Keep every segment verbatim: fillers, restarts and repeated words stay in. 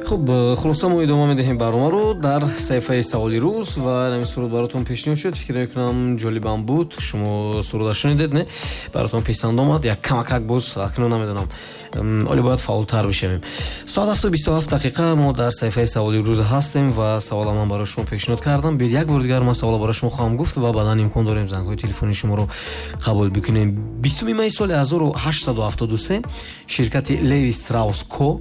Хуб, хулоса мо идома медиҳем барномаро дар саҳифаи саволи рӯз ва ҳамин суруд баротон пешниҳод шуд. Фикр мекунам ҷолибам буд. Шумо суруда шунидед, не? Баротон писанд омад. Як камакак боз акнун намедонам, оле бояд фаъолтар бишавем. Соат ҳафту бисту ҳафт дақиқа мо дар саҳифаи саволи рӯз ҳастем ва савола ман барои шумо пешниҳод кардам. Биёед як бор дигар ман савола барои шумо хоҳам гуфт ва баъдан имкон дорем зангҳои телефонии шуморо қабул бикунем. Бистуми майи соли ҳазору ҳаштсаду ҳафтоду се ширкати Леви Страус Ко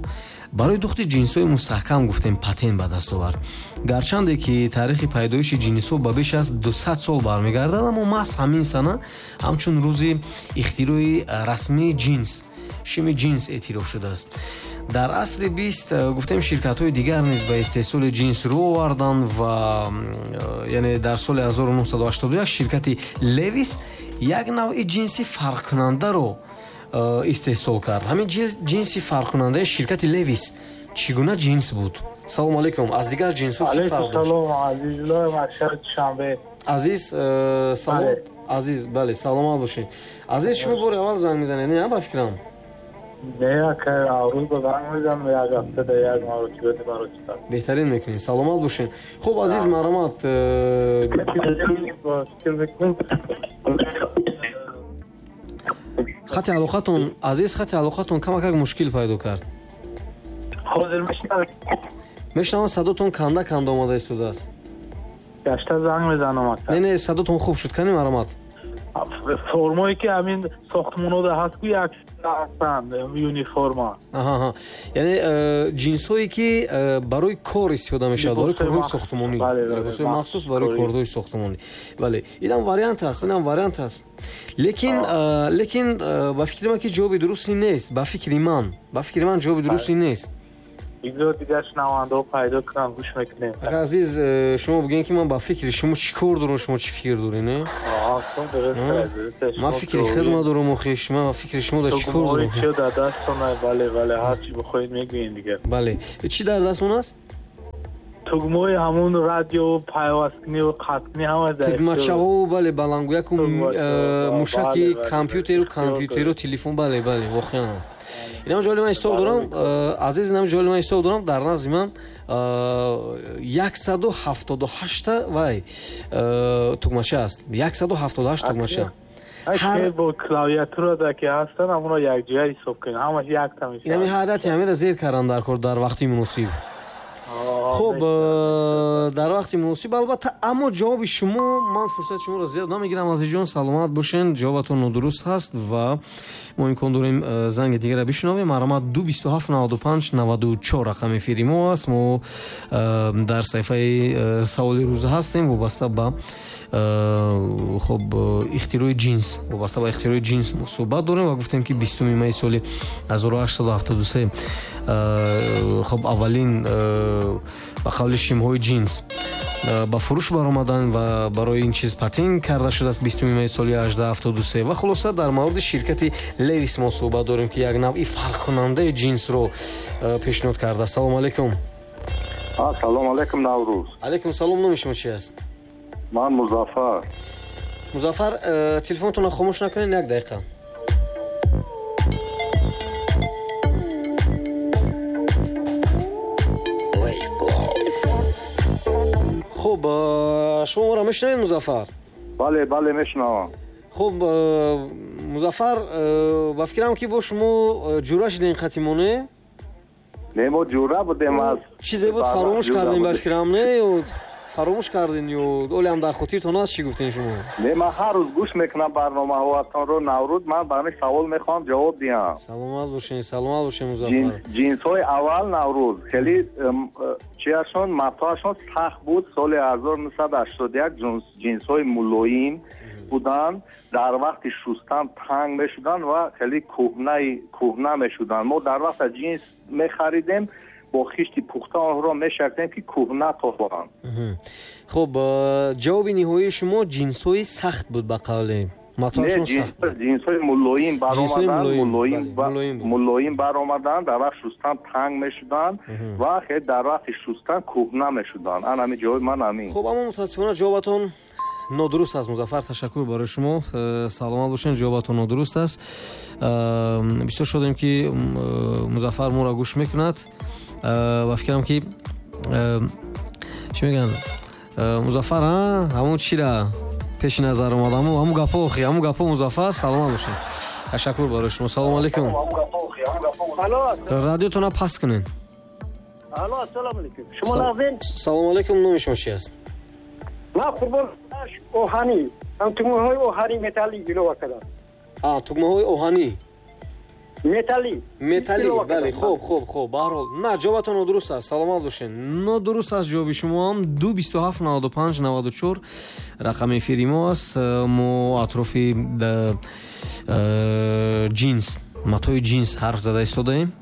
барои духти ҷинсҳои мустаҳкам гуфтем патент ба даст овард. Гарчанде ки таърихи пайдоиши ҷинсҳо ба беш аз дусад сол бармегардад, аммо маҳз ҳамин сана ҳамчун рӯзи ихтирои расмии ҷинс, шими ҷинс эътироф шудааст. Дар асри бист гуфтем ширкатҳои дигар низ ба истеҳсоли ҷинс рӯ оварданд ва яъне дар соли ҳазору нӯҳсаду ҳаштоду як ширкати Левис як навъи ҷинси фарқкунандаро истеҳсол кард. Ҳамин ҷинси фарқкунандаи ширкати Левис чӣ гуна ҷинс буд? Салому алайкум. Аз дигар ҷинсҳо чӣ фарқ дошт? Салом, Азизулло, аз Душанбе. Азиз, салом. Азиз, бале, саломат бошед. Азиз, шумо бори аввал занг мезанед, не, ба фикрам? Не, ака, рӯз ба занг мезанам, як ҳафта як маротиба, ду маротиба. Беҳтарин мекунед. Саломат бошед. Хуб, Азиз, марҳамат. Хати алоқатон, Азиз, хати алоқатон камакак мушкил пайдо кард. Ҳозир мешнавед? Мешнавам, садотон канда канда омада истодааст. Гашта занг мезанам ака. Не, не, садотон хуб шуд. Кани марҳамат. Формое ки ҳамин сохтмонҳода ҳаст, ку як ҳастанд, юниформа. Аҳа, яъне ҷинсҳое ки барои кор истифода мешавад, барои корҳои сохтмонӣ, либосҳои махсус барои корҳои сохтмонӣ. Бале, инам вариант аст, инам вариант аст. Лекин лекин ба фикри ман ки ҷавоби дуруст ин нест. Ба фикри ман, ба фикри ман ҷавоби дуруст ин нест. Бигзор дигар шунавандаҳо пайдо кунам, гӯш мекунем. Ака Азиз, шумо бигӯед ки ман ба фикри шумо чӣ кор дорам, шумо чӣ фикр доред, не? Ман фикри худма дорам, охиш, ман ба фикри шумо дар чӣ кор дорам? Чӣ дар дастон, бале, бале, ҳар чӣ бихоҳед мегӯем дигар. Бале, чӣ дар дастмон аст? Тугмаҳои ҳамон радио пайвасткунӣ ва қатъкунӣ ҳама дар тугмачаҳо, бале, баландгӯяку мушаки компютеру компютеру телефон, бале, бале, воқеан. Инам ҷоли ман ҳисоб дорам, Азиз, инам ҷоли ман ҳисоб дорам, дар назди ман яксаду ҳафтоду ҳашта вай тугмача аст. яксаду ҳафтоду ҳашт тугмача. Ҳар бо клавиатура да ки ҳастанд, ҳамонро якҷоя ҳисоб кунед, ҳамаш якта мешавад. Инами ҳарати ҳаминро зер кардан дар кор дар вақти муносиб. Хуб, дар вақти муносиб албатта, аммо ҷавоби шумо, ман фурсати шуморо зиёд намегирам, Азизҷон, саломат бошен, ҷавобатон нодуруст ҳаст ва мо имкон дорем занги дигарро бишнавем. Марҳамат, ду бисту ҳафт наваду панҷ наваду чор рақами эфири мо аст. Мо дар саҳифаи саволи рӯза ҳастем вобаста ба хуб ихтирои ҷинс, вобаста ба ихтирои ҷинс мо суҳбат дорем ва гуфтем ки бистуми майи соли ҳазору ҳаштсаду ҳафтоду се хуб аввалин ба қавли шимҳои ҷинс ба фурӯш баромаданд ва барои ин чиз патент карда шудааст бистуми майи соли ҳаждаҳ ҳафтоду се. Ва хулоса дар мавриди ширкати Левис мо суҳбат дорем ки як навъи фарқкунандаи ҷинсро пешниҳод кардааст. Салому алайкум. Салому алайкум, Наврӯз. Алайкум салом. Номи шумо чи аст? Ман Музаффар. Музаффар, телефонтонро хомӯш накунед як дақиқа. Хуб, шумо моро мешунавед, Музаффар? Бале, бале, мешунавам. Хуб, Музаффар, ба фикрам ки бо шумо ҷура шудем хатимоне? Не, мо ҷура будем аз чизе буд фаромӯш кардем ба фикрам, не? Ё фаромӯш кардем ё оле ҳам дар хотиртон аст чӣ гуфтем шумо? Не, ман ҳар рӯз гӯш мекунам барномаҳоятонро, Наврӯз. Ман ба ҳамин савол мехоҳам ҷавоб диҳам. Саломат бошед, саломат бошед, Музаффар. Ҷинсҳои аввал, Наврӯз, хеле чиашон, матоашон сахт буд. Соли ҳазору нӯҳсаду ҳаштоду як ҷинсҳои мулоим буданд, дар вақти шустан танг мешуданд ва хеле кӯҳна мешуданд. Мо дар вақта ҷинс мехаридем, бо хишти пухта онҳоро мешактем ки кӯҳна тобанд. Хуб, ҷавоби ниҳоии шумо ҷинсҳои сахт буд ба қавле? Матоашон сахт буд. Ҷинсҳои мулоим баромаданд, мулоим баромаданд, дар вақти шустан танг мешуданд ва хеле дар вақти шустан кӯҳна мешуданд. Ан ҳамин ҷавоби ман ҳамин. Хуб, аммо мутаассифона ҷавобатон нодуруст аст, Музаффар. Ташаккур барои шумо, саломат бошед. Ҷавобатон нодуруст аст. Бисёр шодем ки Музаффар моро гӯш мекунад. Ба фикрам ки чӣ мегӯянд, Музаффар, ҳамун чира пеши назар омад, ҳамун гапо, охи ҳамун гапо. Музаффар, саломат бошед, ташаккур барои шумо. Салому алейкум. Радиотона паст кунед. Алло, ассалому алейкум. Шумо нағзин? Салому алейкум. Номи шумо чи аст? Ман Қурбон Оҳанӣ. Ҳам тугмаҳои оҳанӣ металлӣ илова кардам. А, тугмаҳои оҳанӣ? Металлӣ. Металлӣ, бале, хуб, хуб, хуб. Ба ҳар ҳол, на, ҷавобатон нодуруст аст. Саломат бошед. Нодуруст аст ҷавоби шумо ҳам. Ду бисту ҳафт наваду панҷ наваду чор рақами эфири мо аст. Мо атрофи ҷинс, матои ҷинс ҳарф зада истодаем.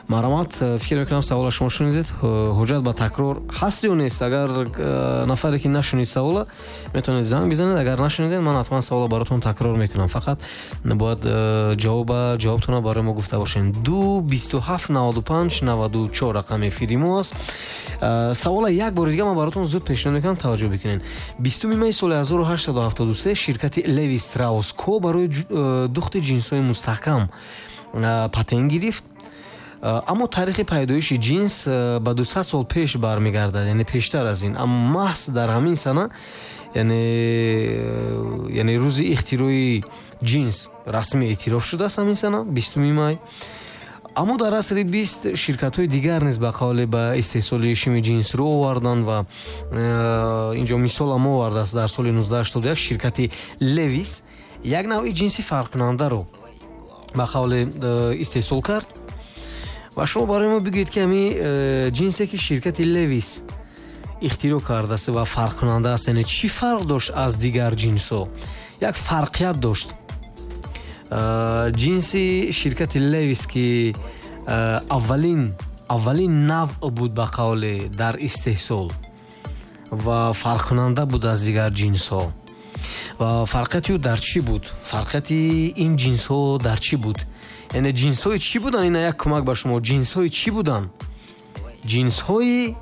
Марҳамат, фикр мекунам савола шумо шунидед. Ҳуҷҷат ба такрор ҳаст ё нест? Агар нафаре ки нашунид савола, метавонед занг бизанед. Агар нашунидед, ман ҳатман савола баротон такрор мекунам. Фақат бояд ҷавоба ҷавобтонро барои мо гуфта бошед. Ду бисту ҳафт наваду панҷ наваду чор рақами эфири мо аст. Савола як бори дига ман баротон зуд пешниҳод мекунам, таваҷҷӯҳ бикунед. Бистуми май соли ҳазору ҳаштсаду ҳафтоду се ширкати Леви Страус Ко барои духти ҷинсҳои мустаҳкам патент гирифт. Аммо таърихи пайдоиши ҷинс ба дусад сол пеш бармегардад, яъне пештар аз ин. Аммо маҳз дар ҳамин сана, яъне яъне рӯзи ихтирои ҷинс расмӣ эътироф шудааст ҳамин сана, бистуми май. Аммо дар асри бист ширкатҳои дигар низ ба қавле ба истеҳсоли шими ҷинс рӯ оварданд ва инҷо мисолам овардааст. Дар соли нуздаҳ ҳаштоду як ширкати Левис як навъи ҷинси фарқкунандаро ба қавле истеҳсол кард. Ва шумо барои мо бигӯед ки ҳамин ҷинсе ки ширкати Левис ихтироъ кардааст ва фарқкунанда аст, яъне чӣ фарқ дошт аз дигар ҷинсҳо? Як фарқият дошт. Ҷинси ширкати Левис ки аввалин аввалин навъ буд ба қавле дар истеҳсол ва фарқкунанда буд аз дигар ҷинсҳо. Ва фарқияти ӯ дар чӣ буд? Фарқияти ин ҷинсҳо дар чӣ буд? Яъне ҷинсҳои чӣ буданд? Ина як кӯмак ба шумо. Ҷинсҳои чӣ буданд? Ҷинсҳои